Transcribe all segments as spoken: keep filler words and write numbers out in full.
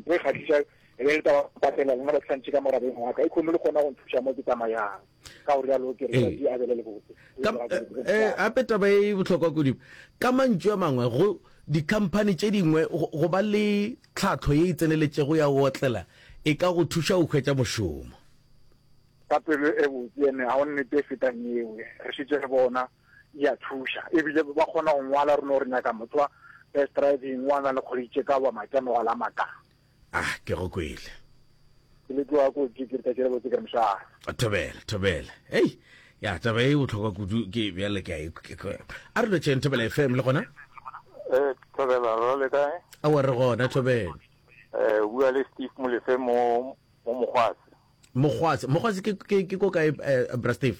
Ntho e kgahliša e be le taba patela lena ba tlhantše ka morabeng wa ka e kgone le kgona go nthuša mo ke tsamayang. Ka go rialo ke re tšatši a bele le botse. Gape taba e bohlokwa kudu, ka mantšu a mangwe, go dikhamphani tše dingwe go ba le tlhahlo ye e tseneletšego ya go otlela e ka go thuša go hwetša mošomo. Ka pelo e botse ene ga go nnete e fetang yeo. Re šetše re bona e a thuša ebile ba kgona go ngwala re no re nyaka motho wa best driving wa na le kgwedi tše ka ba maitemogelo a maka. Ah, ke go kwele. Ke le tloga kotsi ke re tšatši le botse ke re mošaa. Thobela, thobela. Hei, ya taba e bohlokwa kudu ke bjale ke a e a re lotšheng Thobela F M le gona? Eh, Thobela, re le kae? Aowa re gona Thobela. Eh, bua le Steve Molefe mo mo Mogwase. Mogwase, Mogwase ke ke ke ko kae eh, bra Steve?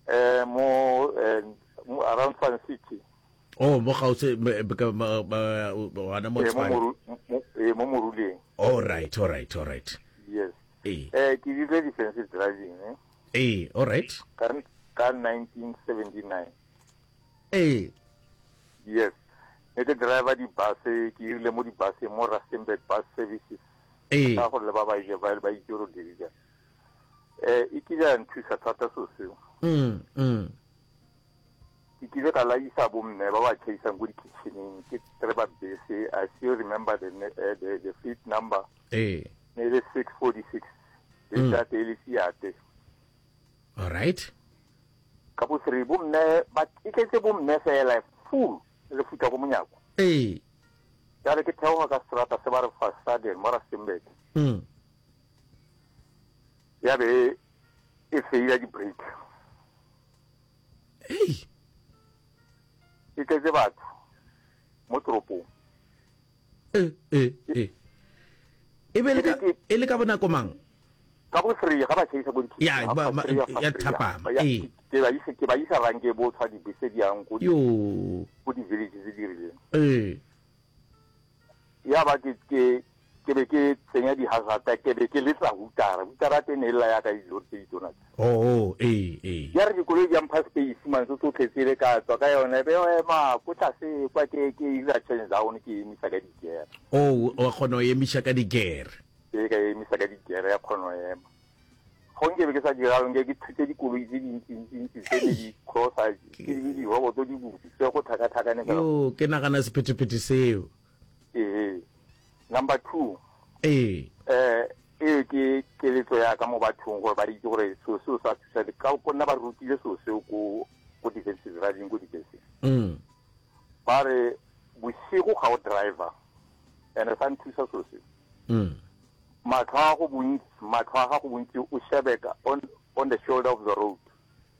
Eh, mo eh, around Sun City. Oh, mo gausi gona mo Tshwane. Eh, mo Moruleng. All right, all right, all right. Yes. Eh, eh ke dirile defensive driving eh. Eh, all right. Ka ka nineteen seventy-nine. Eh. Yes. Ne ke driver di bus, ke irile mo di bus mo Rustenburg Bus Services. Eh. Ka gore le ba ba ile ba ba itse gore dirile. Eh, e kile ya nthusa thata so seo. Mm, mm. Ke kile ka laisa bomme ba ba tšhaisang ko di-kitcheneng ke driver bese. I still remember the, uh, the, the fleet number. Eh. Ne le six forty-six. Mm. Le e le Fiat. All right. Ka bo three bomme ba e tletse bomme fela full le futla ko monyako. Eh. Jale ke theoga ka strata se ba re Fastaden mo Rustenburg. Mm. Ya be e faila di-brake. Hey. E tletse batho mo toropong. Eh, eh, eh. E be le ka e le ka bonako mang? Ka bo three ga ba tšhaisa ko Ya, ba- ma- ya thapama, ee. Ke ba isa ke ba isa ranke bo tshwa dibese di yang ko di Yo. ko di-village tse di rileng. Eh. Ya ba ke ke ke be ke tsenya di-hazard, ke be ke letsa hutara hutara teng e lla ya ka dilori tse ditona tse. Oh, eh, eh. Ya re dikoloi di mpha space man tso tsotlhe tsele ka tswa ka yone be o ema ko tlase kwa ke ke ira change down ke emisa ka digere. Oh, wa kgona go emiša ka digere. Ke ka emisa ka digere ya kgona go ema. Go nke be ke sa diralo nke ke thutse dikoloi tse dintsintsi tse ne di crossa ke di diroboto di butse tse go tlhakatlhakane fela. Yo, ke nagana sephethephethe seo. Ee, number two. Ee. eh e ke keletso ya ka mo bathong gore ba itse gore seo seo sa thusa ka ko nna ba rutile seo seo ko ko defensive driving ko dibeseng. Mm. Ba re bosigo ga o driver and sa nthusa seo seo. Mm. Matlho a go bontsi, matlho a gago bontsi o shebe ka on on the shoulder of the road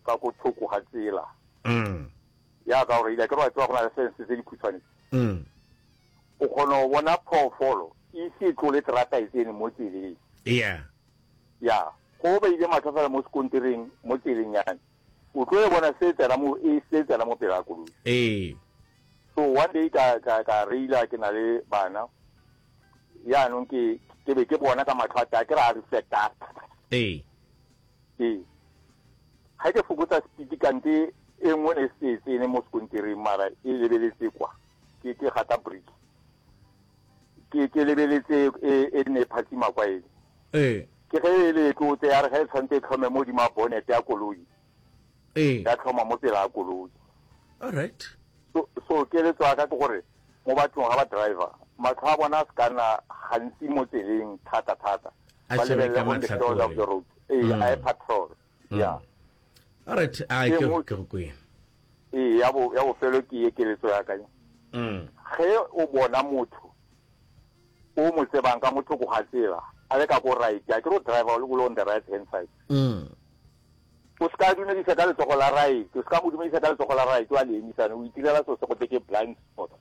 ka ko thoko ga tsela. Mm. Ya ka gore ile ke re wa tseba go na le fence tse dikhutshwane. Mm. O kgona go bona phoofolo e ise e tlole terata e tsene mo tseleng. Yeah. Ya go beile matlho fela mo sekontereng mo tseleng yane o tlo e bona se tsena mo e se tsena mo pele ga koloi. Ee. So one day ka ka ka reila ke na le bana yaanong ke ke be ke bona ka matlho a teng ke re a reflecta. Ee. Ee, ga ke fokotsa speed kante e nngwe ne se e tsene mo sekontereng mara e lebeletse kwa ke ke gata brake ke ke lebeletse e e ne e phatsima kwa ene. Ee. Ke ge e le tlotse ya re ge e tshwanetse e tlhome mo godimo ga bonnet ya koloi. Ee. Ya tlhoma mo pele ga koloi. All right. so so keletso ya ka ke gore mo bathong ga ba driver matlho a bona a se kana gantsi mo tseleng thata thata. A ba shebe lebelele ka on the shoulder of the road ee Mm. a e patrol ya. All right, a E ke nngwe- ke go kwele. Ee, ya bo ya bofelo ke ye keletso ya ka. Mm. Ge o bona motho o mo tsebang ka motho ko ga tsela a le ka ko right a ke re o driver o le on the right hand side. Mm. O se ka dumedisa ka letsogo la right, o se ka mo dumedisa ka letsogo la right wa le emisane o itirela seo se go te ke blind spot.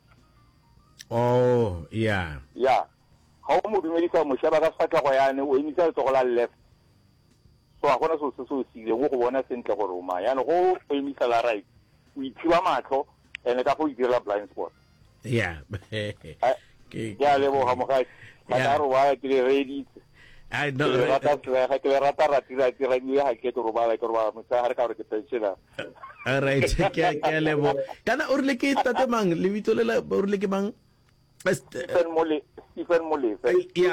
Oh, yeah. Ya ga o mo dumedisa o mo sheba ka sefatlhego yane o emisa letsogo la left so ga gona seo se se o sileng o go bona sentle gore o mang yane go o emisa la right o ithiba matlho and ka go itirela blind spot. Yeah. Ai, Ke ke a leboga mogaši ga Yeah. ka robala ke le reeditse. Ai Ke no. le re- rata flega ke le rata rati-rati radio ga ke ke robala ke robala motshegare ka gore ke pensioner. All right, ke ke a leboga. Kana o rile ke tate mang? Lebitso le la o rile ke mang? Stephen Mole Stephen Molefe. Yeah.